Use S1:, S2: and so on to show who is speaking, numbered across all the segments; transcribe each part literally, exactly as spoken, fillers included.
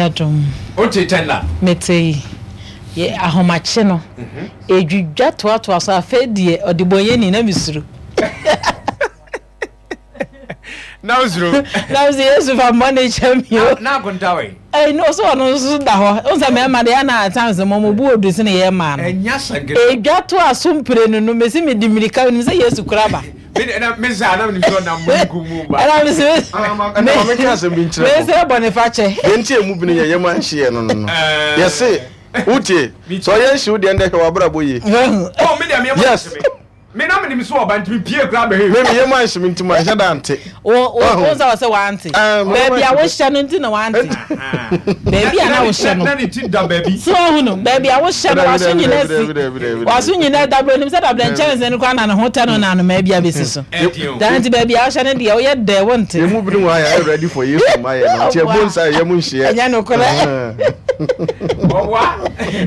S1: Adom.
S2: Wote tender?
S1: Mete yi. Yɛ ahomakye no. Edwidwa toatoa so, afei deɛ ɔde bɔnyɛni na mesuro.
S2: Na wosuro?
S1: Na mesɛ Yesu fa mmɔne kyɛ me o.
S2: Na akonta wɛ?
S1: Ɛyi no so ɔno nso da hɔ. Wo sɛ mmarima deɛ ɛna at times mo mo bu odu sene yɛ mmaa no.
S2: Ɛnya sɛnkɛ.
S1: Edwa to aso mprenu no, mesi mede mmirika, menim sɛ Yesu kura ba.
S2: Mesa na menim sɛ ɔnam mununkum mu ba.
S1: Ɛna mesi
S3: ɛna ma menka asɛm bi nkyerɛ mo.
S1: Mesrɛ bɔne fakyɛ.
S3: Deɛ nti a emu bini yɛ yɛn anhyeɛ no no no. Yɛse wotie sɛ ɔyɛ nhye wo deɛ ndɛ hwɛ w'abrabɔ yie.
S2: Oh, me deɛ me yam
S3: Yes.
S2: anhye me. Me na menim sɛ ɔba nti me pie koraa bɛhwɛ.
S3: Me me yam anhye me nti manhyɛ da ante.
S1: Wo wo wo nsa wɔ sɛ wante.
S3: Ah, me yam
S1: Baabi a
S3: anhye me.
S1: wohyɛ no nti na wante. Baabi a na wohyɛ no.
S2: Na ne ti da baabi.
S1: So ahu no, baabi a wohyɛ no,
S3: Dabi,
S1: waso
S3: dabi,
S1: nyina
S3: dabi,
S1: si.
S3: dabi, dabi, dabi,
S1: Waso
S3: dabi.
S1: nyina dabrɛ nim sɛ dabrɛ nkyɛnse no koraa na ne ho tɛ no na anomaa bi abɛsi so.
S2: Ɛdeɛ o.
S1: Daa nti baabi a wohyɛ no deɛ woyɛ dɛ wonte.
S3: Yɛn mu binom wɔ ha yɛayɛ ready for Yesu mmayɛ no nti ɛbɔ nsa yɛn mu nhyeɛ.
S1: Ɛnyɛ nokorɛ.
S2: Ɔboa.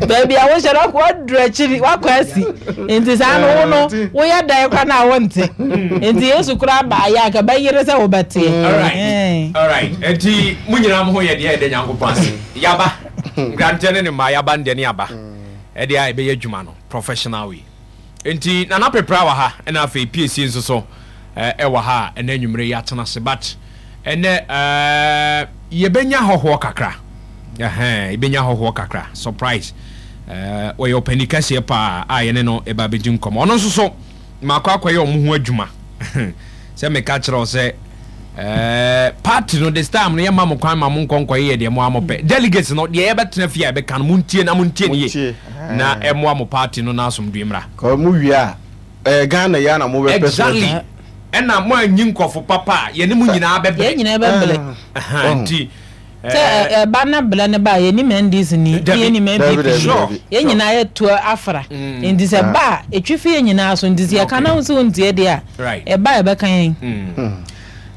S1: Baabi a wohyɛ no wakɔ aduru akyiri, wakɔ asi. Nti saa no wo no woyɛ dɛn koraa na wonte. Nti Yesu koraa baayɛ a anka bɛyere sɛ wobɛteɛ.
S2: Alright, alright. Enti mo nyinaa mo ho yɛ deɛ, yɛda Nyankopɔn ase. Yaba, nkrantɛ ne ne mmaa, yaba no deɛ ne yaba. Ɛdeɛ a yɛbɛyɛ adwuma no professional way. Enti Nana Pepra wɔ ha, ɛna afei Piesie nso so ɛwɔ ha a ɛnɛ anwummere yi atena ase. But ɛnɛ ɛɛ yɛbɛnya hɔhoɔ kakra. Ɛhɛn, yɛbɛnya hɔhoɔ kakra. Surprise. Ɛɛ wɔyɛ ɔpanin kɛseɛ paa a yɛne no ɛba abɛdi nkɔmmɔ. Ɔno nso so makɔ akɔyɛ wɔn ho adwuma. Sɛ meka kyerɛ wo sɛ ɛɛ party no this time no yɛma mo kwan ma mo nkɔ nkɔyɛ deɛ mo a mopɛ. Delegates no deɛ yɛbɛtena fie a yɛbɛka no, montie na montie ne yie na ɛmmoa mo party no na asomdwoe mmra.
S3: Kɔ mo wie a ɛyɛ Ghana yi ara na mobɛpɛ so.
S2: Exactly. Ɛna mo anyi nkurɔfo papa a yɛne mo nyinaa bɛbrɛ.
S1: Yɛn nyinaa bɛbrɛ.
S2: Nti
S1: Sɛ ɛba na brɛ no ba a, yɛnim N D C ni, ne yɛnim N P P ni. Yɛn nyinaa yɛtu afra. Nti sɛ ba a, ɛtwi fi yɛn nyinaa so. Nti sɛ yɛka na wo sɛ wontie deɛ a, ɛba a ɛbɛka yɛn.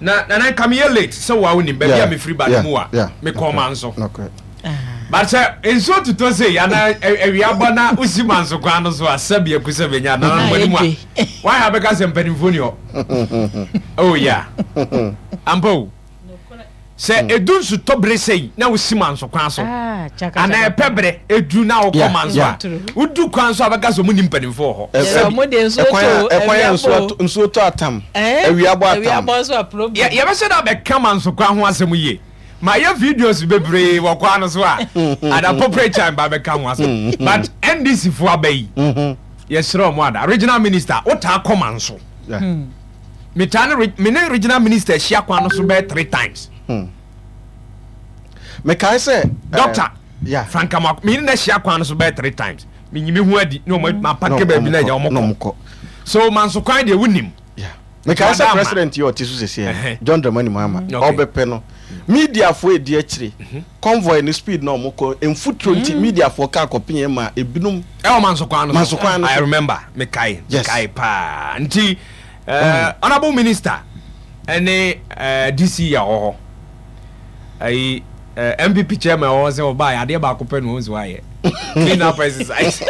S2: Na Nana, nka meyɛ late sɛ wo a wonim baabi a mefiri ba no mu a mekɔɔ Manso. But sɛ nsuo totɔ sei anaa awia bɔ na wosi Manso kwan no so a, sɛbi aku sɛ bɛnya nananom anim a, wayɛ abɛka sɛ mpanimfoɔ ni hɔ. Oh yeah. Ampa o. Sɛ edu nsutɔ bere sɛyi na wosi Manso kwan so anaa ɛpɛ bere edu na wokɔ Manso a, wodu kwan so a bɛka sɛ ɔmo ni mpanimfoɔ wɔ hɔ.
S1: Sɛbi
S3: ɛkwan a nsuo tɔ atam, awia bɔ atam.
S2: Yɛbɛhyɛ da bɛka Manso kwan ho asɛm yie. Mayɛ videos bebree wɔ kwan no so a at appropriate time ba bɛka ho asɛm. But N D C fo aba yi, yɛsrɛ ɔmo ada. Regional minister, wotaa kɔ Manso. Metaa ne me ne regional minister ahyia kwan no so bɛyɛ three times.
S3: Mekae sɛ
S2: Doctor
S3: yeah.
S2: Frank Amoako, me ne no ahyia kwan no so bɛyɛ three times. Menyi me ho adi ne ɔmo ma park baabi na agya ɔmo kɔ. So Manso kwan deɛ, wonim.
S3: Mekae sɛ president yi ɔte so sɛsɛ, John Dramani Mahama, ɔbɛpɛ no, mediafoɔ edi akyire convoy no, speed na ɔmo kɔ mfuturo nti mediafoɔ kaa kɔpem ma ebinom.
S2: Ɛwɔ Manso kwan no so.
S3: Manso kwan no so.
S2: I remember, mekae mekae paa. Nti uh, honourable minister ɛne uh, D C yɛ wɔ hɔ ayi uh, N P P chairman wɔ hɔ sɛ ɔbaa adeɛ baako pɛ na wɔn nso ayɛ clean up exercise.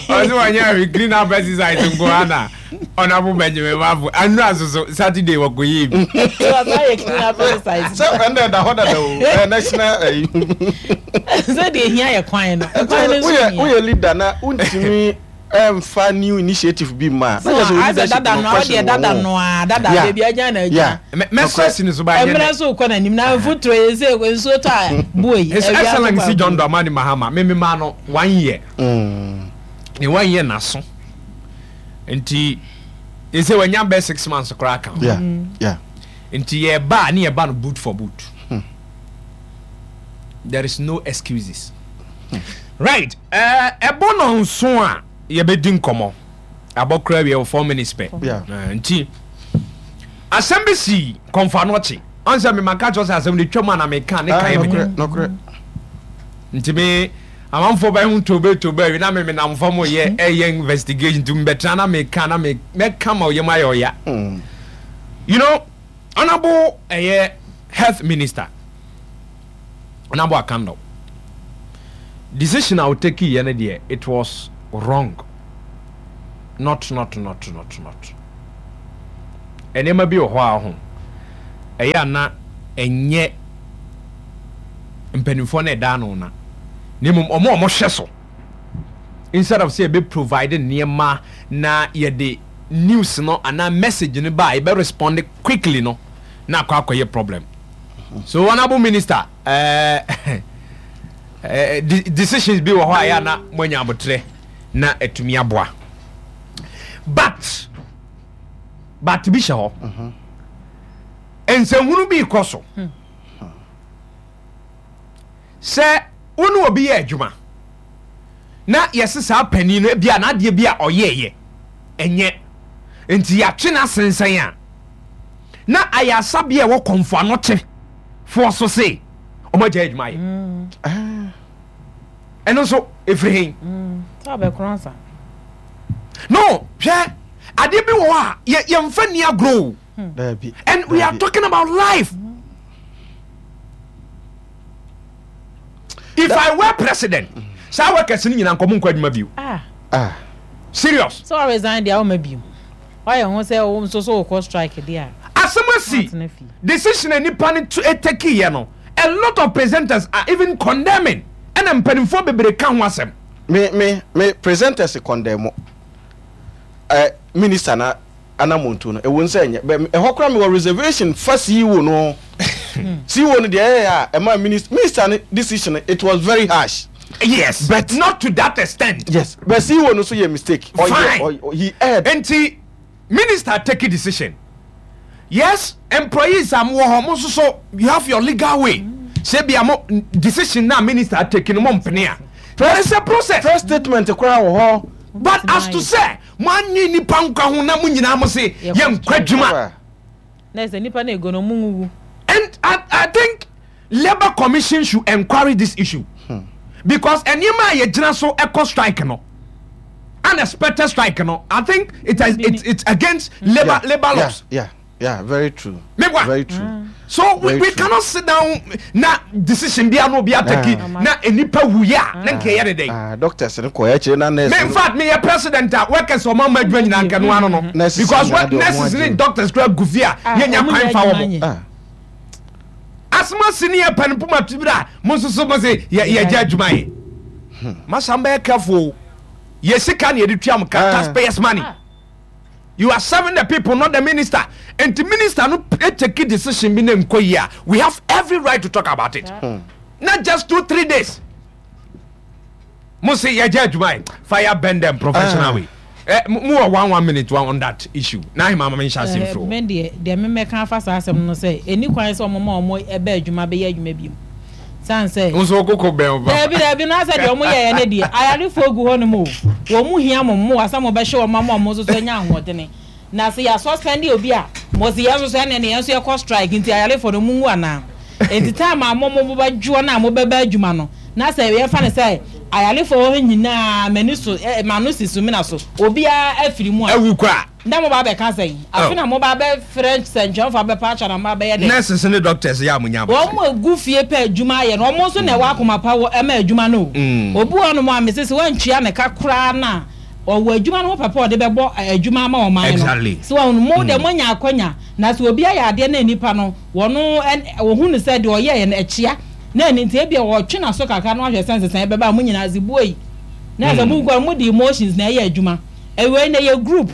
S2: Ɔsɛ wɔnyɛ ahwɛ clean up exercise nko ana. Honourable Benjamin Mafo anura soso Saturday wɔkɔ yie bi.
S3: Sɛ ɛnna ɛda hɔ dada o, ɛyɛ national ɛyi.
S1: Sɛ deɛ ehia yɛ kwan no, kwan no nso
S3: woyɛ
S1: hia.
S3: Woyɛ leader na wontumi ɛnfa new initiative bi ma
S1: so asɛ dada no ɔdeɛ dada no a dada beebi agya na agya.
S2: Mɛsɛ si ne so ba nyɛ.
S1: Mmerɛ so kɔ n'anim na mfuturo yi sɛ nsuo tɔ a bue.
S2: His Excellency John Dramani Mahama, mímí maa no one year ne one year n'aso nti ɛsɛ wanya bɛ six months koraa ka ho. Nti yɛba a ne yɛba no boot for boot hmm. There is no excuses hmm. Right, ɛbɔ no nso a yɛbɛdi nkɔmmɔ abɔ koraa wie wɔ four minutes pɛ. Nti asɛm bi si Kɔmfo Anɔkye ɔn sɛ mema ka kyerɛ sɛ asɛm no twam a na meka ne kae me nti me amanfoɔ bɛho tobe tobe awi na me menam fam yɛ ɛyɛ investigation nti mbɛtena na meka na mɛka ma ɔyɛ mu ayɛ ɔya hmm. you know Honourable ɛyɛ health minister, Honourable Akandoh, decision a ɔtake yɛ no deɛ, it was wrong. Not, not, not, not, not. Nneɛma bi wɔ hɔ a ho Ɛyɛ ana ɛnyɛ mpanimfoɔ no ɛda ano na na mmom ɔmo a ɔmo hwɛ so, instead of sɛ yɛbɛ provide nneɛma na yɛde news no anaa message no ba a, yɛbɛ respond quickly no na akɔ akɔyɛ problem. So honourable minister, ɛɛ ɛɛ de decisions bi wɔ hɔ a ɛyɛ ana mo anya abotire na atumi aboa, but but bi hyɛ hɔ, nsɛnhunu bi kɔ so sɛ wo ne obi yɛ adwuma na yɛse saa panin no bi a n'adeɛ bi a ɔyɛɛyɛ ɛnyɛ nti yɛatwe no asensɛn a, na ayɛ asabea a ɛwɔ Kɔmfo Anɔkye foɔ so se ɔmo agya adwuma yɛ. Ɛno nso ɛfiri hen?
S1: Sɛ ɔbɛkorɔ nsa.
S2: No, hwɛ, adeɛ bi wɔ hɔ a yɛ- yɛmfa ni agorɔ o.
S3: Daabi.
S2: And we are
S3: Daabi.
S2: talking about life. If I were president, saa workers no nyinaa nkɔmo nkɔ adwuma bio.
S1: Ah.
S3: Ah.
S2: Serious.
S1: Sɛ ɔresign deɛ, ɔma bio wayɛ ho sɛ wo nso so wokɔ strike deɛ a,
S2: asɛm asi.
S1: Atena fie.
S2: Decision a nipa no to take yɛ no, a lot of presenters are even condemning, ɛna mpanimfoɔ bebree ka ho asɛm.
S3: me me me presenters condemn ɛ minister na anamontu no. Ewu nsɛ nyɛ bɛ ɛhɔ koraa mi wɔ reservation fa C E O no. C E O no deɛ, ɛyɛ a ɛma minister minister no decision, it was very harsh.
S2: Yes,
S3: But-
S2: not to that extent.
S3: Yes, but C E O no so yɛ mistake. Ɔyɛ
S2: Fine.
S3: ɔyɛ he erred.
S2: Nti minister take a decision. Yes, employees a mo wɔ hɔ, mo nso so you have your legal way sɛ bia mo decision na minister take no, mo mpene a, there is a process.
S3: Press statement koraa wɔ hɔ.
S2: But as to say mo anyi nipa nkwa ho na mo nyinaa mo se
S1: Yɛkɔ
S2: yɛ nkwa adwuma.
S1: Na sɛ nipa no ego no, ɔmo nwuwu.
S2: And I, I think Labour Commission should enquiry this issue because nneɛma a yɛgyina so ɛkɔ strike no, unexpected strike no, I think it has it's, it's against labour
S3: Yeah,
S2: labour
S3: yeah,
S2: laws.
S3: yeah yeah very true.
S2: Mebwa.
S3: Very true.
S2: So we,
S3: Very
S2: we
S3: true.
S2: cannot sit down na decision bi ano bi ataki
S3: Ah.
S2: na nipa wuya na nka yɛ de dɛ.
S3: Ah, doctors no kɔ akyire na nurse
S2: Me, in
S3: no-
S2: fact, me yɛ president a, workers ɔmo ama adwuma nyinaa nka no ano no
S3: Nurses
S2: because
S3: nyinaa
S2: what
S3: de ɔmo
S2: nurses ne
S3: agye.
S2: doctors kura gu fie a,
S1: Ah,
S2: yɛnya
S1: ɔmo
S2: kwan
S1: nyɛ
S2: fa
S1: adwuma
S2: wɔn.
S1: nyɛ.
S3: Ah.
S2: Asoma si ne yɛ pɛn poma tibiri a, mo nso so mo se yɛ yɛgye adwuma yɛ masa mbɛyɛ careful o. Yɛ sika na yɛde tua mo ka.
S3: Ah.
S2: Taxpayers' money.
S1: Ah.
S2: You are serving the people, not the minister. Nti minister no take decision bi na nkɔ yi a, we have every right to talk about it. Not just two three days mo se yɛgye adwuma yɛ. Fire burn them professional
S3: Ah.
S2: way. Eh, mo mo wɔ one one minute one on that issue na ahema ma me nhyɛ ase mfiri hɔ.
S1: Me deɛ deɛ memɛka afa saa asɛm no sɛ ɛni kwan sɛ ɔmo ma ɔmo ɛbɛ adwuma bɛyɛ adwuma bio san sɛ
S2: Nso koko bɛn o ba.
S1: Daabi, daabi, no asɛ deɛ ɔmo yɛyɛ ne deɛ, ayarefoɔ gu hɔ nom o, wɔn mu hia mo mmoa sɛ mo bɛhyɛ wɔn ama ɔmo nso so anya ahoɔdene, na sɛ yɛ suspend obi a, mo si yɛn nso so ɛne ne yɛn nso yɛkɔ strike, nti ayarefoɔ no mu nwu anaa? Nti time a mo mo bɛdwoɔ na mo bɛbɛ adwuma no, na sɛ yɛfa ne sɛ ayarefoɔ hɔ nyinaa m'ani so ɛ m'ano si so mina so, obiara afiri mu a,
S2: Ewu kɔ a,
S1: na mo ba bɛka sɛn afi na mo ba bɛfrɛ sɛntwɛnfo abɛpa atwa na mo ba bɛyɛ dɛ?
S2: Nurses ne doctors yɛ a mo nya
S1: Wɔn mu egu fie pɛ adwuma ayɛ no, wɔn nso na ɛwɔ akoma pa wɔ ɛma adwuma no o.
S2: Mm.
S1: Obi wɔ nom a mesi sɛ wɔntua ne ka koraa na ɔwɔ adwuma no ho pɛpɛ ɔde bɛbɔ ɛ, adwuma ama ɔman no.
S2: Exactly.
S1: So wɔn mo de mo nya akɔnya na sɛ obi ayɛ adeɛ na nipa no wɔn ɛn wɔhu no sɛ deɛ ɔyɛ yɛ no ɛkyia na ɛni nti ebi wɔtwe n'aso kakra na wahwɛ sɛ nsesan bɛba a mo nyinaa zi bue yi na sɛ mo nkɔ mo de emotions na ɛyɛ adwuma. Ɛwɛ na ɛyɛ group,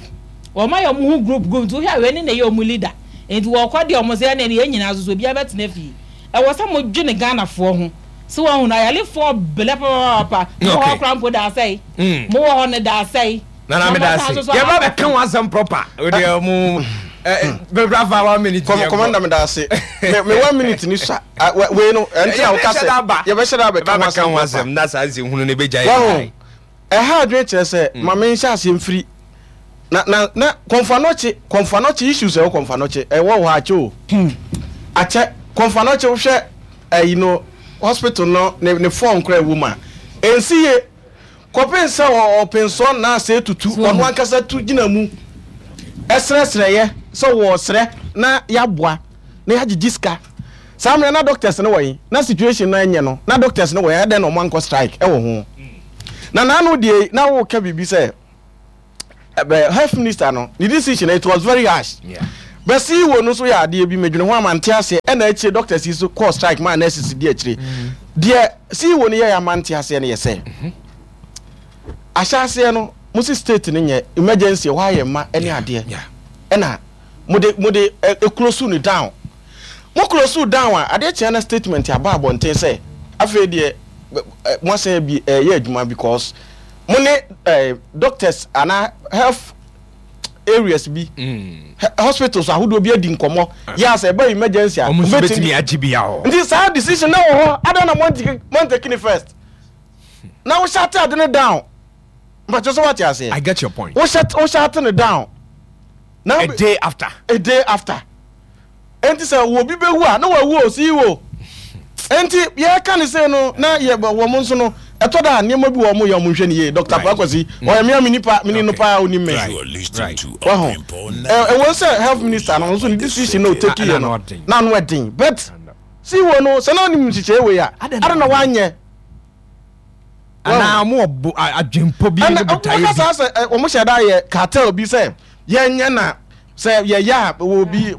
S1: wɔn ayɛ ɔmo ho group group, nti wohwɛ awɛ ne na ɛyɛ ɔmo leader, nti wɔkɔ deɛ ɔmo sɛ ɛna yɛn nyinaa soso obiara bɛtena fie. Ɛwɔ sɛ mo dwene Ghanafoɔ ho sɛ wɔn ho na ayalefoɔ bɛlɛ papaapa mo wɔ
S2: Okay.
S1: hɔ koraa mpo da asɛe.
S2: Mm.
S1: Mo wɔ hɔ no da asɛe.
S2: Nana, mi da ase. Yɛ ba bɛ kan wa asɛm proper o de mu bɛbra fa one minute.
S3: Com
S2: yɛ kɔ.
S3: Commander, me da ase. me me one minute ni sa. Ah, we wei no ɛnti a woka sɛ
S2: Yɛbɛhyɛ da aba.
S3: Yɛbɛhyɛ da abɛka
S2: Yɛba
S3: ho
S2: bɛka ho
S3: asɛm.
S2: asɛm na saa nsɛm hunu ne bɛgya yɛ.
S3: Wahu ɛha adwene kyerɛ sɛ ma me nhyɛ aseɛ mfiri na na na Kɔmfo Anɔkye Kɔmfo Anɔkye issues. Ɛwɔ Kɔmfo Anɔkye, ɛwɔ hɔ akyɛ o, akyɛ. Kɔmfo Anɔkye, wohwɛ ɛyi no, hospital no ne ne form kora ɛwɔ mu a ɛnsi yie kɔpem sɛ ɔ- ɔpensɔn na asɛ tutu ɔno ankasa tu gyina mu ɛsrɛsrɛyɛ sɛ wɔɔsrɛ na yɛaboa na yɛagyegye sika. Saa mmerɛ na doctors no wɔ yi na situation no ɛnyɛ no na doctors no wɔ yi, ɛdɛn na ɔmo ankɔ strike ɛwɔ ho? Na n'ano deɛ na wɔka biribi sɛ ɛbɛ health minister no ne decision, it was very harsh.
S2: Yeah.
S3: Bɛsi wo no so yɛ adeɛ bi medwene ho amante aseɛ. Ɛna akyire doctors yi so kɔɔ strike maa nurses di akyire deɛ. C E O no yɛ amante aseɛ no yɛ sɛ ahyɛ aseɛ no, mo si state no nyɛ emergency, ɛhɔ ayɛ mma ɛne adeɛ, ɛna mo de mo de ɛ close no down. Mo close down a, adeɛ kyɛn na statement aba abɔnten sɛ afei deɛ mo asan bi ɛyɛ adwuma because mo ne ɛɛ doctors ana health areas bi, hospitals ahodoɔ bi adi nkɔmɔ yɛ asɛ ɛbɛ emergency a
S2: ɔmo nso bɛtumi agye bi ahɔ.
S3: Nti saa decision na wɔ hɔ adan na mo n take ni first na wo shut ade no down. Mpatwa sɛ wate aseɛ?
S2: I get your point.
S3: wo shut wo shut no down
S2: na a day after.
S3: A day after. Nti sɛ wɔ bi bɛwu a na wawu o C E O. Nti yɛka ne sɛ no na yɛ wɔ mo nso no, ɛtɔ da a nneɛma bi wɔ mo yɛ ɔmo nhwɛ ne yie. Doctor Akwasi ɔyɛ mmea mi nipa mi ni no paa, onim me waho. Ɛwɔ sɛ health minister no nso ne decision na o take yɛ no na ano ɛden, but C E O no sɛ na ɔnim nhyehyɛ wei a, ada na wanyɛ.
S2: Anaa ɔmo wɔ adwempo bi ne botaeɛ bi.
S3: Ɛna saa sɛ ɔmo hyɛ da yɛ cartel bi sɛ yɛnyɛ na sɛ yɛyɛ a wɔ bi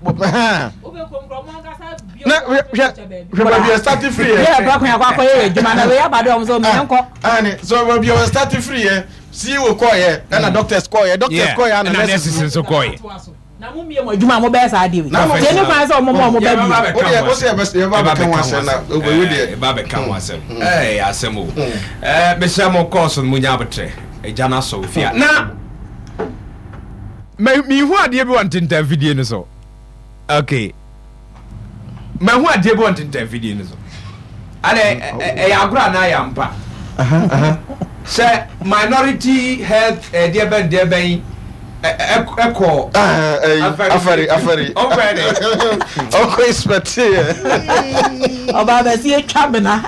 S3: na hwɛ hwɛ baabi yɛ start free yɛ.
S1: Yɛ bɛ kɔn akɔ akɔyɛ yɛ adwuma na wei aba de ɔmo sɛ ɔmo yɛn kɔ.
S3: Ɛni so baabi yɛ start free yɛ, C E O kɔ yɛ, ɛna doctors kɔ yɛ, doctors kɔ yɛ, ɛna
S2: nurses nso kɔ yɛ.
S1: Na mo mie mo adwuma a mo bɛyɛ saa adeɛ wei tie ne kwan sɛ ɔmo ma ɔmo bɛ bi.
S3: O deɛ o sɛ yɛ bɛ bɛka ho asɛm na o bɛ deɛ.
S2: Ɛba bɛka ho asɛm, ɛɛ asɛm o. Ɛɛ mesrɛ mo, kɔɔso no mo nya abotrɛ, ɛgya no asɔ ofia na mihu adeɛ bi wɔ ntentan fidie no so. Okay, mahu adeɛ bi wɔ ntentan fidie no so ade, ɛyɛ agorɔ anaa yɛ ampa sɛ minority health ɛdeɛ bɛn deɛ bɛn ɛkɔ?
S3: Afari afari.
S2: Ɔkɔ de.
S3: Ɔkɔ inspect yɛ.
S1: Ɔba abɛsi etwa mena.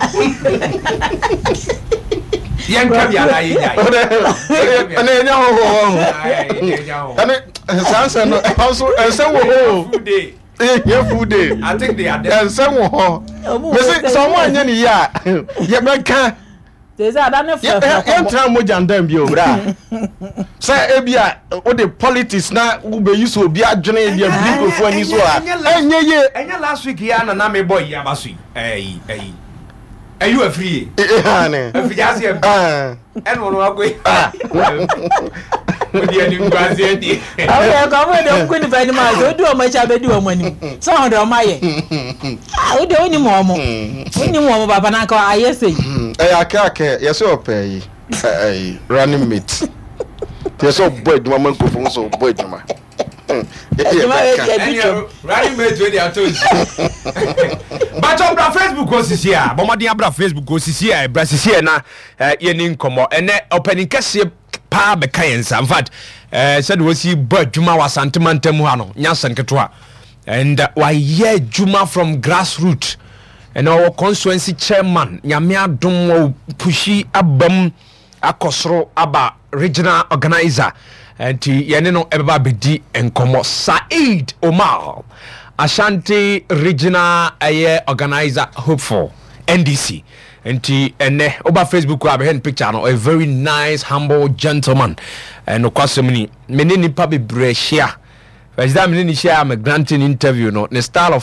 S2: Yɛn ntwa bi anaa yɛn nya?
S3: Ɛnɛ ɛnyɛ hɔ hɔ hɔ, ɛne saa nsɛm no ɛhɔ nso ɛnsɛm wɔ hɔ o. Yɛ full day.
S2: I think they are there.
S3: Ɛnsɛm wɔ hɔ mesi sɛ ɔmo anyɛ ne yie a, yɛbɛka.
S1: Sɛ ada ne fɛfɛ.
S3: Yɛntena mogya ndan bio bra sɛ ebi a wode politics na wobɛyi so obi adwene de abiri nkurɔfoɔ ani so a, ɛnyɛ yie.
S2: Ɛnyɛ last week yi a na na mebɔ yi aba so yi, ɛyi ɛyi ɛyi wɔ afiri ye afiri ase ɛbi ɛna ɔno akɔ yi odi anim guase di.
S1: Ɔmo kɔ ɔmo de ɔmo kɔ nipa anim a, sɛ odi ɔmo akyi abɛdi ɔmo anim sɛ ɔmo de ɔmo ayɛ ah, o de onim ɔmo onim ɔmo papa na nka ayɛ sɛ yi.
S3: Ɛyɛ akɛ akɛ yɛsɛ ɔpɛ yi ɛyi running mate, yɛsɛ ɔbɔ adwuma ma nkurɔfoɔ nso ɔbɔ adwuma.
S1: Adwuma yɛ deɛ bi twam.
S2: Running mate wey de ato nsu bàtɔ bra Facebook osisi a, bɔnmɔden abra Facebook osisi a, bra sisi a na yɛni nkɔmɔ. Ɛnɛ ɔpanin kɛseɛ paa bɛka yɛn nsa. In fact, ɛɛ sɛde wɔsi bɔ adwuma wɔ Asante mantam ha no nyɛ asɛm ketewa, and wayɛ adwuma from grassroot, ɛna ɔwɔ constituency chairman. Nyame adom, wɔ push abam akɔ soro aba regional organizer, nti yɛne no ɛbɛba abɛdi nkɔmmɔ. Said Omar, Ashanti Regional ɛyɛ organizer hopeful, N D C. Nti ɛnɛ woba Facebook a, bɛhwɛ no picture no, a very nice humble gentleman. Ɛnokwasɛm ni, me ne nipa bebree ahyia. First time me ne ne hyia a me granting interview no, ne style of